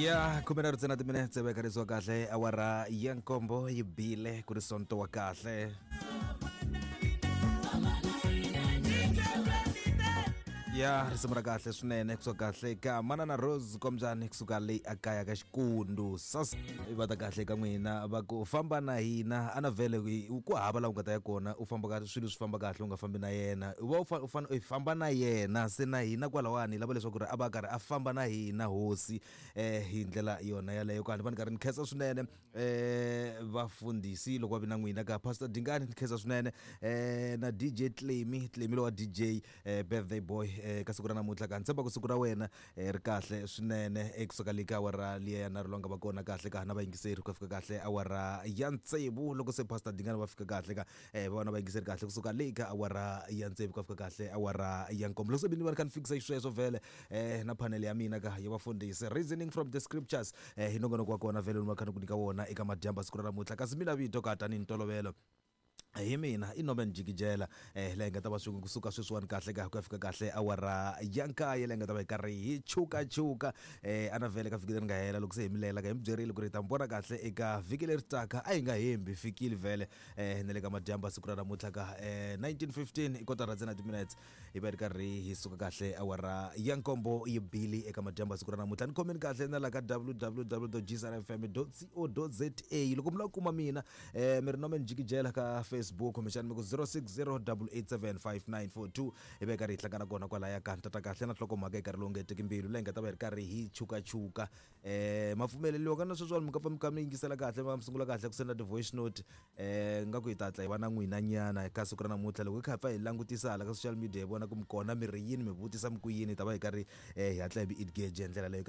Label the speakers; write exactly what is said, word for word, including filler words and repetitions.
Speaker 1: Ya khume na ntsena timinetse veka kahle awara ya nkombo yi bile ku ri sonto wa kahle. Ya risimu ra kahle swinene kusuka kahle ka Manana Rose Kombyani kusuka le akaya ka Xikundu sas va ta kahle ka n'wina va ku famba na hina ana vhele ku hava laha u nga ta ya kona u famba ka swilo swi famba kahle u nga fambi na yena u va u fane u famba na yena se na hina kwalawani lava leswaku ri a va karhi a famba na hina hosi eh hi ndlela yona yaleyo kwani va ni karhi ni khensa swinene eh vafundhisi loko va vi na n'wina ka Pastor Dingani ni khensa swinene eh na D J Clemy Clemy lowa D J eh, birthday boy eh ka siku ra namuntlha ka ntshemba ku siku ra wena ri kahle swinene ekusuka le ka awara liya ya nharhu lowu nga va kona kahle ka na vayingiseri ku fika kahle awara ya tsevu loko se Pastor Dingani va fika kahle ka eh va vona vayingiseri kahle kusuka le ka awara ya tsevu ku fika kahle awara ya nkombo loko se bini va ri kha ni fikisa xisweswo vhele eh na panel ya mina ka ya vafundhisi reasoning from the scriptures eh hi nongonoko wa kona vhele lowu va kha ni ku nyika wona eka madyambu siku ra namuntlha kasi mina vito ka tanihi ntolovelo hi mina i Norman Jikijela eh leyi nga ta va swi kusuka sweswiwani kahle ka ku ya fika kahle awara ya nkaye leyi nga ta va hi karhi hi chukachuka eh ana vhele ka vhiki leri nga hela loko se hi milela ka hi mi byerile ku ri hi ta mi vona kahle eka vhiki leri taka a hi nga hembi fikile vhele eh na le ka madyambu siku ra namuntlha ka eh nineteen fifteen i kotara ntsena timinutes hi va hi ri karhi hi suka kahle awara ya nkombo yi bili eka madyambu siku ra namuntlha ni khomeni kahle na la ka w w w dot g s r f m dot co dot z a loko mi lava ku kuma mina eh mi ri Norman Jikijela ka Facebook kumbexana mi ku zero six zero eight eight seven five nine four two hi va hi karhi hi hlangana kona kwalaya ka ntata kahle na nhlokomhaka hi karhi lowu nga heteki mbilu leyi nga ta va hi ri karhi hi chukachuka eh mapfumeleliwa ka na sweswiwani mi ka pfa mi kha mi yingisela kahle va mi sungula kahle ku senda ti-voice note eh nga ku hi ta hatla hi va na n'wina nyana ka siku ra namuntlha loko hi kha hi pfa hi langutisa hala ka social media hi vona ku mi kona mi ri yini mi vutisa mi ku yini hi ta va hi karhi eh hi hatla hi vi engage hi ndlela leyo.